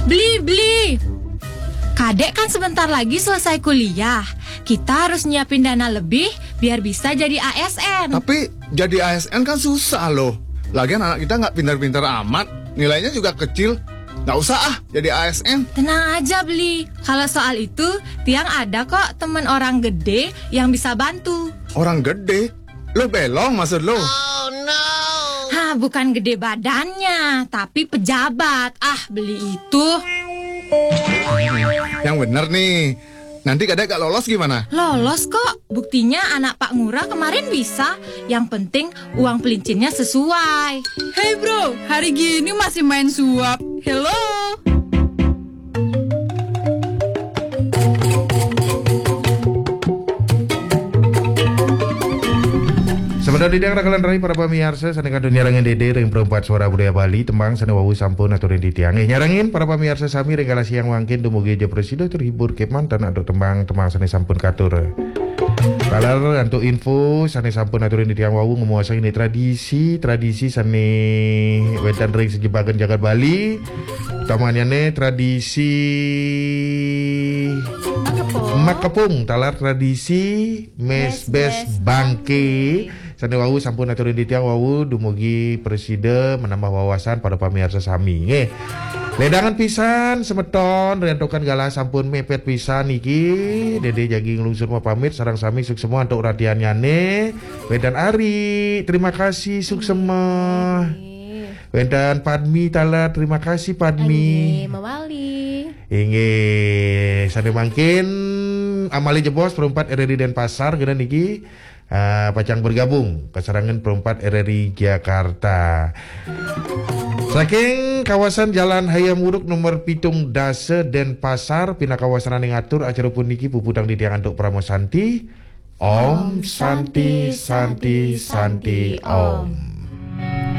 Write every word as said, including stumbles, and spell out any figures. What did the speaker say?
Beli, beli. Kadek kan sebentar lagi selesai kuliah. Kita harus nyiapin dana lebih biar bisa jadi A S N. Tapi jadi A S N kan susah loh. Lagian anak kita nggak pinter-pinter amat. Nilainya juga kecil. Nggak usah ah jadi A S N. Tenang aja, Beli. Kalau soal itu, Tiang ada kok temen orang gede yang bisa bantu. Orang gede? Lo belong maksud lo? Hah, bukan gede badannya, tapi pejabat. Ah, Beli itu. Yang bener nih. Nanti kadek gak lolos gimana? Lolos kok. Buktinya anak Pak Ngurah kemarin bisa. Yang penting uang pelincinnya sesuai. Hey bro, hari gini masih main suap. Hello. Sebentar di rakalan rai para pamiarsa sane kantun nyarengin dede ring perempat suara budaya Bali, tembang sane wau sampun aturin titiang. Eh, nyarengin para pamiarsa sami ring galah siang wangkin dumugi ja prasida terhibur kemanten antuk tembang-tembang sane sampun katur. Taler antuk info sane sampun aturin titiang wau, ngumuasang ini tradisi, tradisi sane wenten ring sejebakan jagat Bali. Utamanyane tradisi Makepung. Makepung, taler tradisi mesbes Mesbes bangke. Sane wau sampun aturin titiang wau dumugi prasida menambah wawasan para pamiarsa sami. Nggih. Ledangan pisan semeton, rentokan galah sampun mepet pisan niki. Dede jagi nglungsur mapamit, sareng sami suksema antuk ratiannyane. Wedan Ari, terima kasih suksema. Nggih. Wedan Padmi taler, terima kasih Padmi. Nggih, mawali. Inggih, sane mangkin amali jebos perempat R R I Denpasar kene niki. Ah, pacang bergabung kasarengan perempat R R I Jakarta. Saking kawasan Jalan Hayam Wuruk nomor pitung dasa Denpasar, pinaka wasananing atur acara puniki puputang titiang antuk Parama Santi. Om Santi, Santi, Santi, Om.